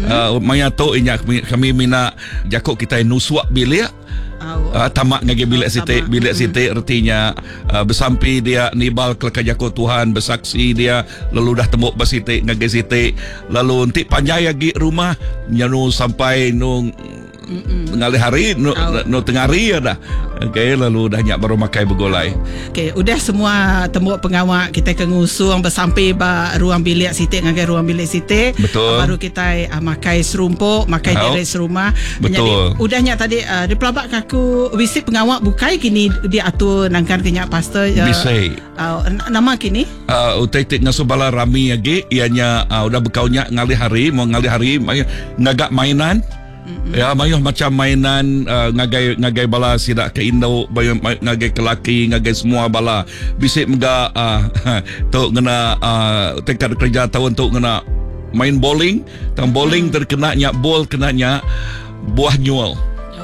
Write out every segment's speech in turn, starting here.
Uh, maya tu inya kami, kami mina jaku kitai nusuk bilik uh, tama ngagai bilik siti bilik siti retinya uh, besampi dia nibal keleka jaku Tuhan besaksi dia lalu dah tembuk ba siti ngagai siti lalu enti panjai agi rumah nyanu sampai nu ngalih hari nu, nu tengah hari ya dah. Okey lalu dah nya baru makai begulai. Okey udah semua tembu pengawa kita ke ngusung besampi ba ruang bilik siti ngagai ruang bilik siti. Betul. Baru kita uh, makai serumpuk, makai diri serumah. Betul. Jadi udah nya tadi uh, dipelabak ke aku bisi pengawa bukai kini diatur nangkan ke nya pastor. Uh, bisi. Uh, nama kini? Uh, utai ti ngasuh bala rami agi iya nya uh, udah bekau nya ngalih hari mau ngalih hari ngaga mainan. Ya mayuh macam mainan uh, ngagai ngagai bala sida ke indu mayuh ngagai ke laki ngagai semua bala bisi mega uh, tu ngena uh, tingkat kerja taun tu ngena main bowling tang bowling terkena nya bol kena nya buah nyul.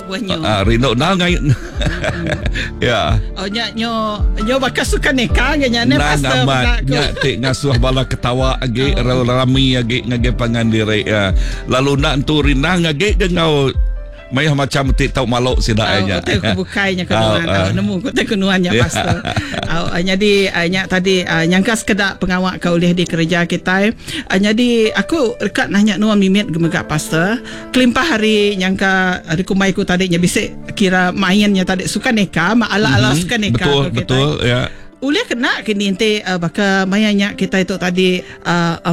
Buah nyul. Uh, rindu nang ngai. Ya. Oh nya nyo nyo baka suka neka ge nya ne pastor amat nya ti ngasuh bala ketawa agi oh. rami agi ngagai pangan diri ya. Lalu nak entu rindang agi ke ngau mayuh macam ti tau malu sida oh, nya. Utai ku bukai nya kenuan. Oh, nemu ku utai kenuan nya pastor. Oh, jadi nya tadi nyangka sekeda pengawa ke ulih dikereja kitai. Nyadi aku deka nanya nuan mimit mega pastor. Kelimpah ari nyangka dikumbai ku tadi nya bisi kira main nya tadi suka neka ala-ala suka neka Betul, ku kitai. betul ya. Ulih kena kini enti baka maya nya kitai tu tadi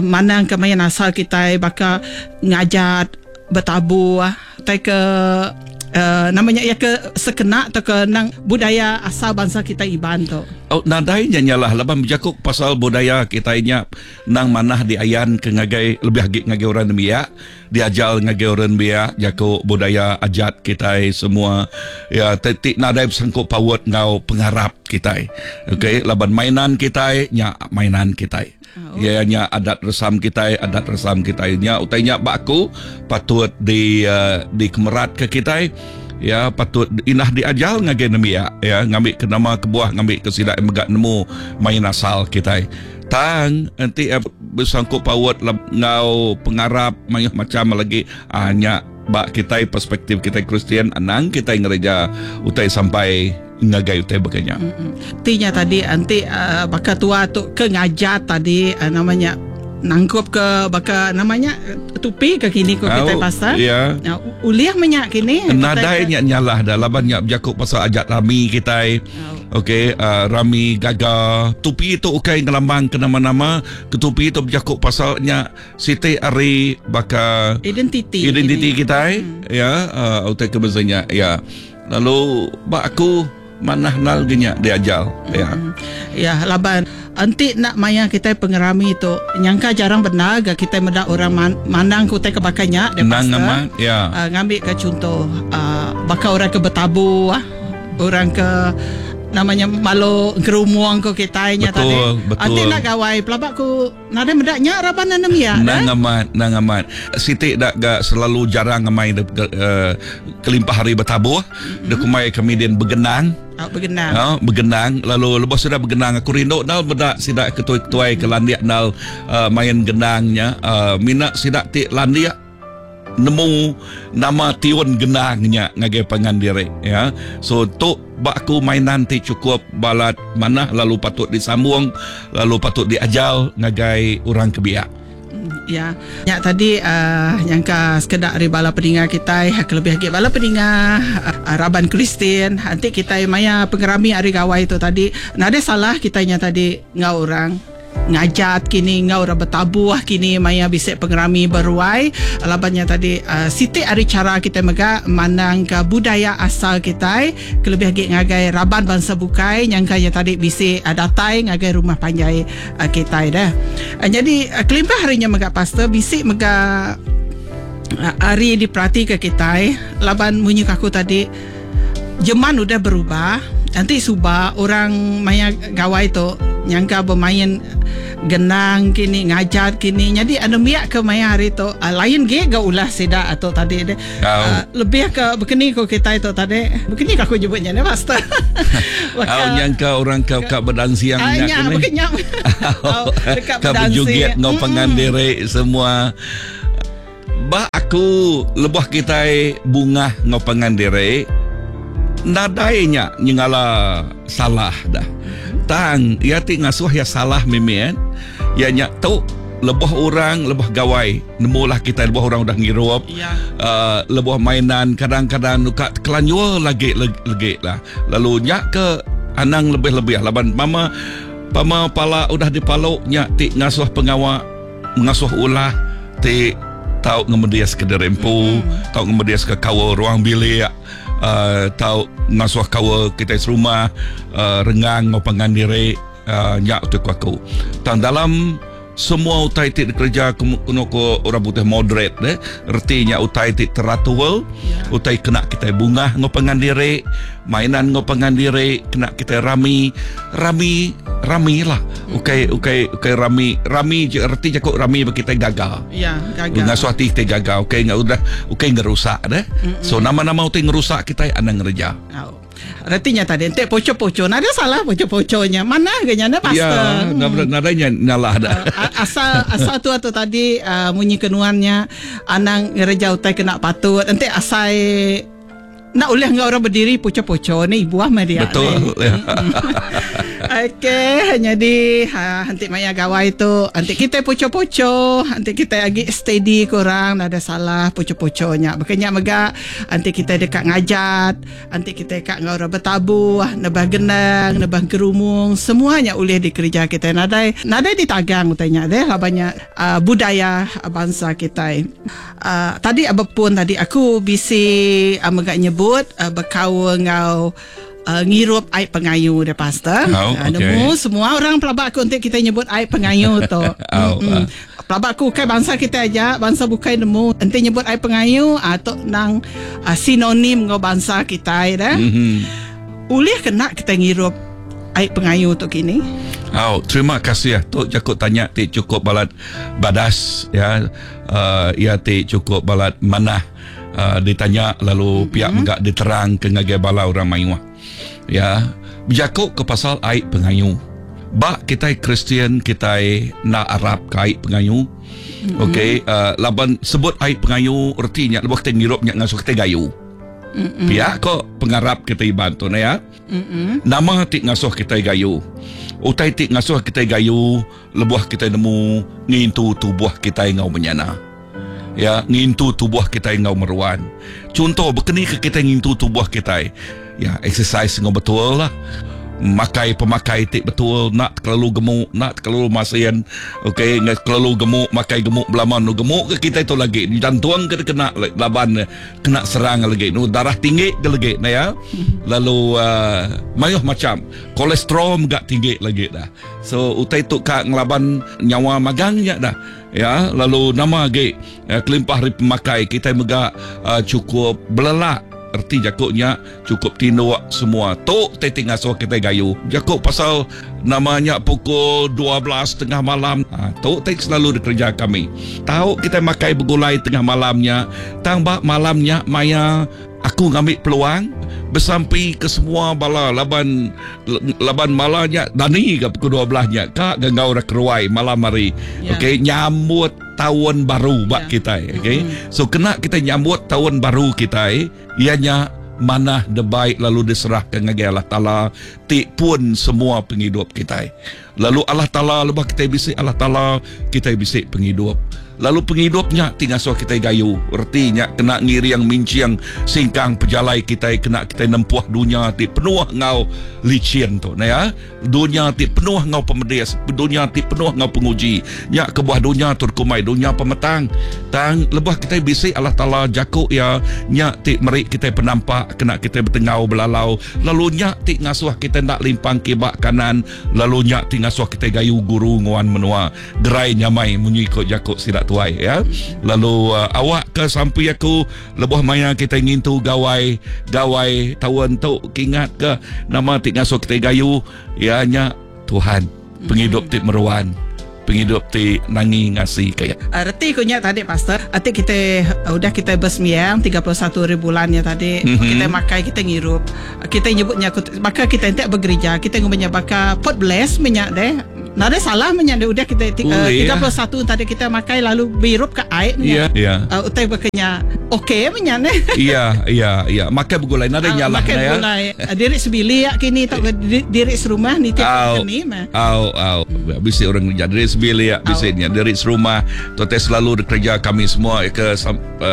manang ke main asal kitai baka ngajat, betabuh, tai ke nama nya iya ke sekena tauka nang budaya asal bansa kitai Iban tu. Oh, nadai nya nyalah laban bejaku pasal budaya kitai nya endang manah diayan ke ngagai lebih agi ngagai orang nembiak, diajar ngagai orang nembiak jaku budaya ajat kitai semua iya ti ti nadai besangkut paut enggau pengarap kitai. Okey laban mainan kitai nya mainan kitai. Iya nya adat resam kitai, adat resam kitai nya utai nya ba aku patut di uh, dikemeratka kitai. Ya patut indah diajar ngagai nembiak ya ngambi ke nama kebuah ngambi ke sida mega nemu main asal kitai. Tang enti besangkut paut enggau pengarap mayuh macam lagi uh, nya ba kitai perspektif kitai Kristian anang kitai ngereja utai sampai ngagai utai baka nya. Ti nya tadi enti uh, baka tua tu ke ngajar tadi uh, nama nya nangkup ke baka nama nya tupi ke kini ko kitai pasal. Ya. Uh, ulih menya kini. Nadai nya nyalah dah laban nya bejaku pasal ajat rami kitai. Okey, uh, rami gaga. Tupi tu ukai ngelambang ke nama-nama. Ketupi tu bejaku pasal nya siti ari baka identiti identiti kitai hmm. ya uh, utai ke beza nya ya. Lalu ba aku manah nal ge nya diajar ya. Ya laban enti enda maya kitai pengerami tu nyangka jarang bendar ga kitai meda orang mandang ke utai ke baka nya deh Endang pastor. amat ya. Uh, ngambi ke chunto uh, baka orang ke betabu ah orang ke namanya malu engkerumung ko kitai nya Betul, tadi. betul. Enti enda gawai pelaba ku Nadai meda nya raban anembiak deh. Nang amat, nang amat. Siti da ga selalu jarang amai de, uh, kelimpah hari betabuh, mm-hmm. de kumai kami din begenang. Oh, begenang. Oh, begenang. Lalu lebuh sida begenang aku rindu nal meda sida ketuai-ketuai ke landik nal uh, main genang nya. Uh, mina sida ti landik nemu nama tiun gendang nya ngagai pangan diri ya. So tu ba aku mainan ti chukup balat manah lalu patut disambung lalu patut diajar ngagai orang ke biak. Ya. Nya tadi uh, nyangka sekeda ari bala peninga kitai kelebih agi bala peninga uh, raban Kristian enti kitai maya pengerami ari gawai tu tadi nadai salah kitai nya tadi enggau orang Ngajat kini enggau orang betabuh kini maya bisi pengerami beruai laban nya tadi siti ari chara kitai mega mandangka budaya asal kitai kelebih agi ngagai raban bansa bukai nyangka nya tadi bisi datai ngagai rumah panjai kitai deh. Nyadi kelimpah ari nya mega pastor bisi mega ari diperatika kitai laban munyi ku aku tadi Jeman udah berubah, enti suba orang maya gawai tu nyangka bemain gendang kini ngajat kini nyadi anembiak ke maya hari tu lain gi ga ulah sida tu tadi deh. Lebih ke bekeni ku kitai tu tadi. Bekeni ka aku nyebut nya neh pastor. Au nyangka orang ke ka bedansing nya kini. Nya Ka bejoget enggau pangan diri semua. Ba aku. aku lebuh kitai bungah enggau pangan diri nadai nya nyengala salah dah. Tang iya ti ngasuh iya salah mimit iya nya tu lebuh orang lebuh gawai nemulah kitai lebuh orang udah ngirup uhh lebuh mainan kadang-kadang nuka tekelanjur lagi legi lah lalu nya ke anang lebih-lebih laban pama pama pala udah dipalu nya ti ngasuh pengawa ngasuh ulah ti tau ngemedis ke diri empu tau ngemedis ke kaul ruang bilik uhh tau ngasuh kaul kitai serumah uhh rengang enggau pangan diri uhh nya tu ku aku. Tang dalam semua utai ti dikereja kenu ku orang putih moderate deh reti nya utai ti teratur utai kena kitai bungah enggau pangan diri mainan enggau pangan diri kena kitai rami rami rami lah ukai ukai ukai rami rami je reti jaku rami ba kitai gaga Ya, gaga. Ngasuh ati kitai gaga ukai udah ukai ngerusak deh so nama nama utai ngerusak kitai anang ngereja. Au. Reti nya tadi enti poco-poco nadai salah poco-poco nya manah ga nya neh pastor. Ya, hmm. nadai nya nyalah dah. Asal asal tu tu tadi uh, munyi ke nuan nya anang ngereja utai kena patut enti asai nak ulih enggau orang berdiri poco-poco ni buah meh dia. Betul. Ya. Okey, jadi ha, enti maya gawai tu enti kita poco-poco, enti kita agi steady kurang nadai salah poco-poco nya. Baka nya mega enti kita deka ngajat Enti kitai ka enggau orang betabuh, nebah gendang, nebah gerumung, semua nya ulih dikereja kitai nadai nadai ditagang utai nya deh laban nya budaya bansa kitai. Tadi bepun tadi aku bisi mega nyebut bekaul enggau ngirup ai pengayu deh pastor. Oh, okay. Nemu semua orang pelaba aku enti kitai nyebut ai pengayu tu. Oh, uh. Pelaba aku ukai bansa kitai aja, bansa bukai nemu enti nyebut ai pengayu ah tu endang ah, sinonim enggau bansa kitai deh. Mm -hmm. Ulih kena kitai ngirup ai pengayu tu kini? Au, terima kasih tu jaku tanya ti cukup balat badas ya. Uh, ia ti cukup balat manah uh, ditanya lalu mm -hmm. pia mega diterang ke ngagai bala orang mayuh. Ya, bejaku ke pasal ai pengayu. Ba kitai Kristian kitai enda arap ke ai pengayu. Mm-hmm. Okey, uh, laban sebut ai pengayu reti nya lebuh kitai ngirup nya ngasuh kitai gayu. Mm-hmm. Pia ko pengarap kitai Iban tu ne ya. Mm-hmm. Nama ti ngasuh kitai gayu? Utai ti ngasuh kitai gayu lebuh kitai nemu ngintu tubuh kitai enggau menyana. Ya, ngintu tubuh kitai enggau meruan. Chunto, bekeni ke kitai ngintu tubuh kitai? Ya, exercise enggau betul lah. Makai pemakai ti betul, enda terlalu gemuk, enda terlalu masin. Okey, enda terlalu gemuk, makai gemuk belama nu gemuk ke kitai tu lagi. Jantung ke kena laban kena serang lagi. Nu darah tinggi ke lagi ne ya. Lalu uh, mayuh macam kolesterol mega tinggi lagi dah. So utai tu ka ngelaban nyawa magang nya dah. Ya, lalu nama agi kelimpah ari pemakai kitai mega chukup belelak reti jaku nya chukup tinduk semua tu ti ti ngasuh kitai gayu. Jaku pasal nama nya pukul 12 tengah malam tu ti selalu dikereja kami. Tau kitai makai begulai tengah malam nya tang ba malam nya maya Aku ngambi peluang besampi ke semua bala laban laban mala nya dani ga pukul 12 nya ka ga enggau orang keruai malam hari. Yeah. Okey nyambut taun baru ba Yeah. kitai okey. So kena kitai nyambut taun baru kitai iya nya manah debai lalu diserahka ngagai Allah Taala ti pun semua pengidup kitai. Lalu Allah Taala lebuh kitai bisi Allah Taala kitai bisi pengidup. Lalu pengidup nya ti ngasuh kitai gayu. Reti nya kena ngiring minching singkang pejalai kitai kena kitai nempuh dunya ti penuh enggau lichin tu neh ya. Dunya ti penuh enggau pemedis, dunya ti penuh enggau penguji. Nya kebuah dunya tu dikumbai dunya pemetang. Tang lebuh kitai bisi Allah Taala jaku iya nya ti meri kitai penampak kena kitai betenggau belalau lalu nya ti ngasuh kitai enda limpang kiba kanan Lalu nya ti ngasuh kitai gayu guru nguan menua gerai nyamai munyi ko jaku sida tuai ya. Lalu uh, awak ke sampi aku lebuh maya kitai ngintu gawai gawai taun tu kingat ke nama ti ngasuh kitai gayu ya nya Tuhan pengidup ti meruan pengidup ti nangi ngasi ke iya. Uh, reti ku nya tadi pastor, ati kita uh, udah kita bersembiang 31 hari bulan nya tadi, mm -hmm. kita makai, kita ngirup. Kita nyebut nya baka kita entek bergereja, kita ngumbai nya baka pot bless menya deh. Nadai salah menya udah kita 31 tadi kita makai lalu birup ke ai menya. Yeah, yeah. Utai bekenya okey menya ne. Iya, iya, iya. Makai begulai nadai nyalah makai ya. Begulai diri sebilik kini tau diri serumah ni tiap kini mah. Au, au. Bisi orang kerja diri sebilik, bisi nya diri serumah. Tote selalu dikerja kami semua ke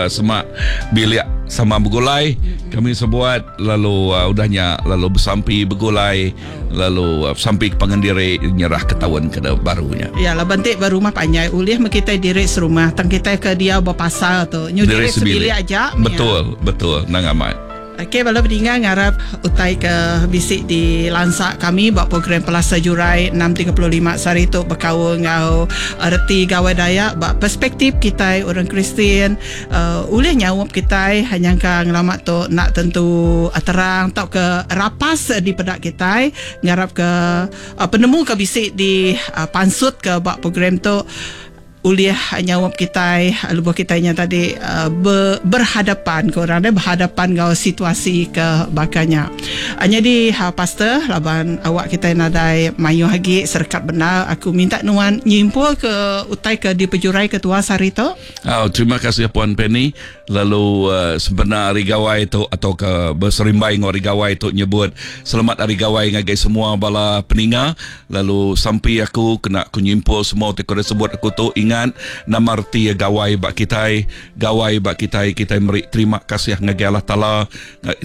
semak bilik sama begulai. Kami sebuat lalu udahnya lalu besampi begulai lalu sampi ke pangan diri nyerah ke taun ke barunya. Ya laban ti ba rumah panjai ulih meh kitai diri serumah tang kitai ke diau ba pasar tu nyu diri sebilik aja. Betul, betul nang amat. Okey bala pedinga ngarap utai ke bisi di lansa kami ba program Pelasa Jurai 6.35 sehari tu bekaul enggau reti Gawai Dayak ba perspektif kitai orang Kristian ulih nyaup kitai nyangka ngelama tu enda tentu terang tauka rapas dipeda kitai ngarap ke penemu ke bisi di pansut ke ba program tu ulih nyaup kitai lebuh kitai nya tadi berhadapan ke orang deh berhadapan enggau situasi ke baka nya. Nyadi pastor laban awak kitai nadai mayuh agi serekat bendar aku minta nuan nyimpul ke utai ke dipejurai ke tua sehari tu. Au terima kasih puan Penny lalu sempena hari gawai tu atau ke beserimbai enggau hari gawai tu nyebut selamat hari gawai ngagai semua bala peninga. Lalu sampi aku kena ku nyimpul semua utai ke udah sebut aku tu ingat nama reti iya gawai ba kitai. Gawai ba kitai kitai meri terima kasih ngagai Allah Taala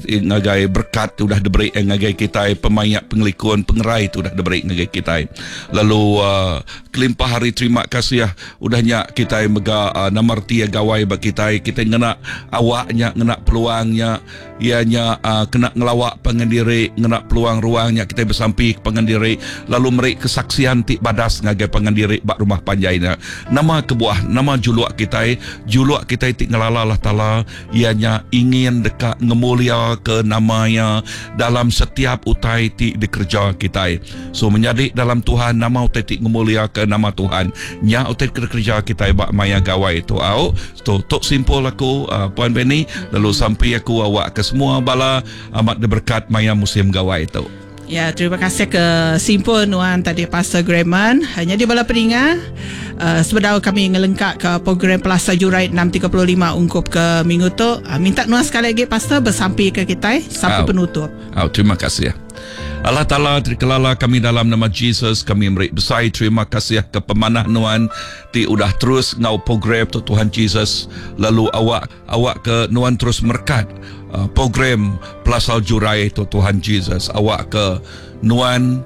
ngagai berkat ti udah diberi iya ngagai kitai pemaik pengelikun pengerai ti udah diberi ngagai kitai. Lalu uhh kelimpah ari terima kasih udah nya kitai mega nama reti iya gawai ba kitai kitai ngena awak nya ngena peluang nya. Iya nya kena ngelawa pangan diri ngena peluang ruang nya kitai besampi ke pangan diri lalu meri kesaksian ti badas ngagai pangan diri ba rumah panjai nya. Nama kebuah? Nama juluk kitai? Juluk kitai ti ngelala Allah Taala iya nya ingin deka ngemuliaka nama Iya dalam setiap utai ti dikereja kitai. So menyadi dalam Tuhan nama utai ti ngemuliaka nama Tuhan? Nya utai ti dikereja kitai ba maya gawai tu au. Tu tok simpul aku Puan Benny lalu sampi aku awak ke semua bala amat diberkat maya musim gawai tu. Ya, terima kasih ke simpul nuan tadi Pastor Grayman. Nyadi bala peninga, uh, sebedau kami ngelengka ke program Pelasa Jurai 6.35 ungkup ke minggu tu, uh, minta nuan sekali lagi Pastor bersampi ke kitai sampai penutup. Au, terima kasih. Allah Taala terkelala kami dalam nama Jesus kami meri besai terima kasih ke pemanah nuan ti udah terus enggau program tu Tuhan Jesus lalu awak awak ke nuan terus merekat uh, program Pelasal Jurai tu Tuhan Jesus awak ke nuan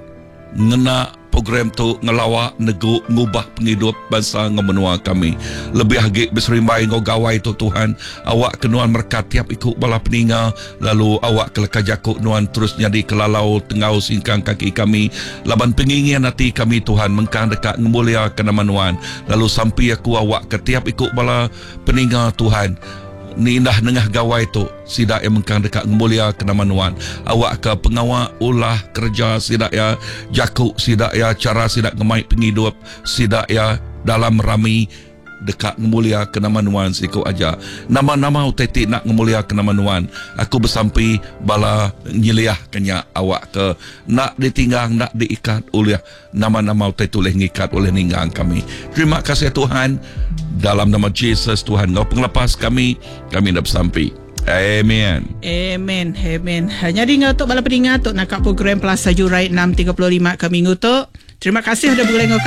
ngena program tu ngelawa negu ngubah pengidup bansa enggau menua kami. Lebih agi beserimbai enggau gawai tu Tuhan, awak ke nuan merekat tiap iku bala peninga lalu awak ke leka jaku nuan terus nyadi ke lalau tenggau singkang kaki kami laban pengingin ati kami Tuhan mengkang deka ngemuliaka nama nuan lalu sampi aku awak ke tiap iku bala peninga Tuhan Ni indah nengah gawai tu, sida iya mengkang deka ngemuliaka nama Nuan. Awakka pengawa, ulah, kereja sida iya, jaku sida iya, chara sida ngemai pengidup sida iya dalam rami deka ngemuliaka nama Nuan siku aja. Nama-nama utai ti enda ngemuliaka nama Nuan, aku besampi bala nyeliahka nya awakka enda ditinggang enda diikat ulih Nama-nama utai tu ulih ngikat ulih ninggang kami. Terima kasih Tuhan. Dalam nama Jesus Tuhan enggau pengelepas kami, kami enda besampi. Amen. Amen. Amen. Nyadi enggau tu bala peninga tu naka program Pelasa Jurai 6.35 ke minggu tu. Terima kasih udah begulai enggau kami.